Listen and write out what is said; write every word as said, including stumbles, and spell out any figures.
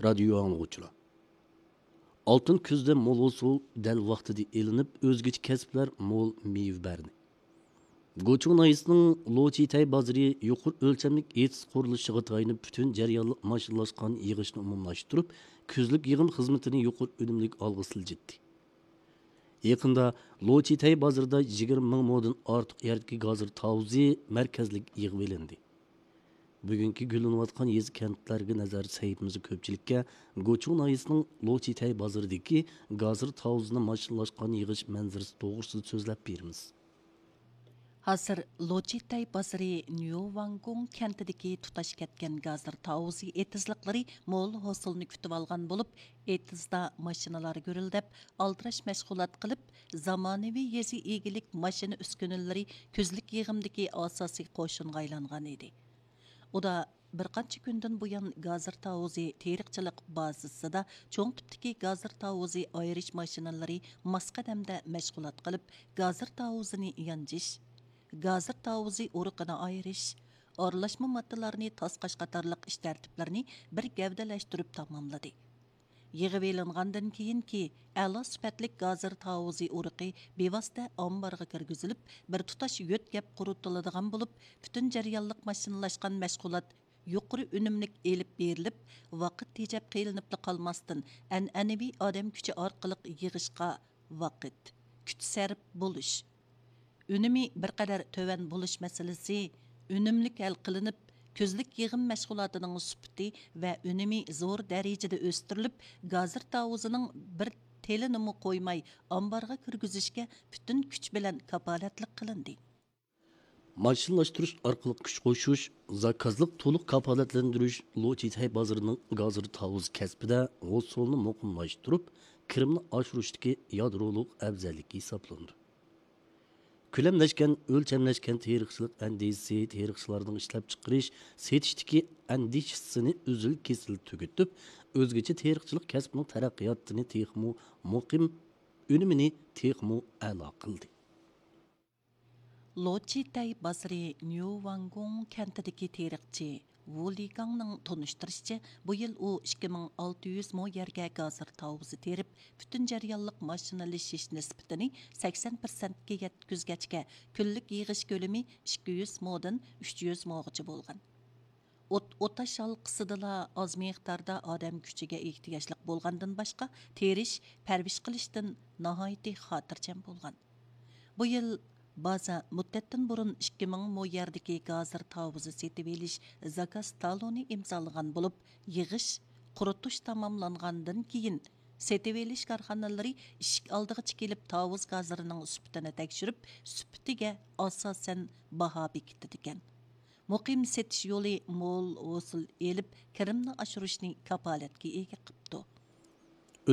رادىيو ئاڭلىغۇچىلار، ئالتۇن كۈزدە مول ھوسۇل دەل ۋاقتىدا ئېلىنىپ، ئۆزگىچە كەسىپلەر مول مېۋە بەردى. گۇچۇڭ ناھىيەسىنىڭ لوچىتەي بازىرى يۇقىرى ئۆلچەملىك ئېتىز قۇرۇلۇشىغا تايىنىپ، پۈتۈن جەريانلىق ماشىنىلاشقان يىغىشنى ئومۇملاشتۇرۇپ، كۈزلۈك يىغىم خىزمىتىنى يۇقىرى ئۈنۈملۈك ئالغا سىلجىتتى. يېقىندا لوچىتەي بازىرىدا يىگىرمە مىڭ مودىن ئارتۇق يەردىكى گازىر تاۋۇزى مەركەزلىك يىغىۋېلىندى. بۈگۈنكى گۈللىنىۋاتقان يېزا، كەنتلەرگە نەزەر سەھىپىمىزدە كۆپچىلىككە گۇچۇڭ ناھىيەسىنىڭ لوچىتەي بازىرىدىكى گازىر تاۋۇزىنى ماشىنىلاشقان يىغىش مەنزىرىسى توغرىسىدا سۆزلەپ بېرىمىز. ھازىر لوچىتەي بازىرى نيۇۋاڭگۇڭ كەنتىدىكى تۇتاش كەتكەن گازىر تاۋۇزى ئېتىزلىقلىرى مول ھوسۇلنى كۈتۈۋالغان بولۇپ، ئېتىزدا ماشىنىلار گۈرۈلدەپ، ئالدىراش مەشغۇلات قىلىپ، زامانىۋى يېزا ئىگىلىك ماشىنا ئۈسكۈنىلىرى كۈزلۈك يىغىمدىكى ئاساسىي قوشۇنغا ئايلانغان ئىدى. ئۇدا بىر قانچە كۈندىن بۇيان، گازىر تاۋۇزى تېرىقچىلىق بازىسىدا چوڭ تىپتىكى گازىر تاۋۇزى ئايرىش ماشىنىلىرى ماس قەدەمدە مەشغۇلات قىلىپ، گازىر تاۋۇزىنى يانچىش، گازىر تاۋۇزى ئۇرۇقىنى ئايرىش، ئارىلاشما ماددىلارنى تاسقاش قاتارلىق ئىش تەرتىپلىرىنى بىر گەۋدىلەشتۈرۈپ تاماملىدى. يىغىۋېلىنغاندىن كېيىنكى ئەلا سۈپەتلىك گازىر تاۋۇزى ئۇرۇقى بىۋاسىتە ئامبارغا كىرگۈزۈلۈپ، بىر تۇتاش يۆتكەپ قۇرۇتۇلىدىغان بولۇپ، پۈتۈن جەريانلىق ماشىنىلاشقان مەشغۇلات يۇقىرى ئۈنۈملۈك ئېلىپ بېرىلىپ، ۋاقىت تېجەپ قېلىنىپلا قالماستىن، ئەنئەنىۋى ئادەم كۈچى ئارقىلىق يىغىشقا ۋاقىت، كۈچ سەرپ بولۇش، ئۈنۈمى بىر قەدەر تۆۋەن بولۇش مەسىلىسى ئۈنۈملۈك ھەل قىلىنىپ، كۈزلۈك يىغىم مەشغۇلاتىنىڭ سۈپىتى ۋە ئۈنۈمى زور دەرىجىدە ئۆستۈرۈلۈپ، گازىر تاۋۇزىنىڭ بىر تېلىنىمۇ قويماي ئامبارغا كىرگۈزۈشكە پۈتۈن كۈچ بىلەن كاپالەتلىك قىلىندى. ماشىنىلاشتۇرۇش ئارقىلىق كۈچ قوشۇش، زاكازلىق تولۇق كاپالەتلەندۈرۈش لوچىتەي بازىرىنىڭ گازىر تاۋۇزى كەسپىدە ھوسۇلنى مۇقىملاشتۇرۇپ، كىرىمنى ئاشۇرۇشتىكى يادرولۇق ئەۋزەللىكى ھېسابلىنىدۇ. كۆلەملەشكەن، ئۆلچەملەشكەن تېرىقچىلىق ئەندىزىسى تېرىقچىلارنىڭ ئىشلەپچىقىرىش، سېتىشتىكى ئەندىشىسىنى ئۈزۈل-كېسىل تۈگىتىپ، ئۆزگىچە تېرىقچىلىق كەسپىنىڭ تەرەققىياتىنى تېخىمۇ مۇقىم، ئۈنۈمىنى تېخىمۇ ئەلا قىلدى. لوچىتەي بازىرى نيۇۋاڭگۇڭ كەنتىدىكى تېرىقچى ۋۇ لىگاڭنىڭ تونۇشتۇرۇشىچە، بۇ يىل ئۇ ئىككى مىڭ ئالتە يۈز مو يەرگە گازىر تاۋۇزى تېرىپ، پۈتۈن جەريانلىق ماشىنىلىشىش نىسبىتىنى سەكسەن پىرسەنتكە يەتكۈزگەچكە، كۈنلۈك يىغىش كۆلىمى ئىككى يۈز مودىن ئۈچ يۈز موغىچە بولغان. ئوت-، ئوتاش ھالقىسىدىلا ئاز مىقداردا ئادەم كۈچىگە ئېھتىياجلىق بولغاندىن باشقا، تېرىش، پەرۋىش قىلىشتىن ناھايىتى خاتىرجەم بولغان. بۇ يىل بازا مۇددەتتىن بۇرۇن ئىككى مىڭ مو يەردىكى گازىر تاۋۇزى سېتىۋېلىش زاكاز تالونى ئىمزالىغان بولۇپ، يىغىش، قۇرۇتۇش تاماملانغاندىن كېيىن، سېتىۋېلىش كارخانىلىرى ئىشىك ئالدىغىچە كېلىپ، تاۋۇز گازىرىنىڭ سۈپىتىنى تەكشۈرۈپ، سۈپىتىگە ئاساسەن باھا بېكىتىدىكەن. مۇقىم سېتىش يولى مول ھوسۇل ئېلىپ، كىرىمنى ئاشۇرۇشنى كاپالەتكە ئىگە قىپتۇ.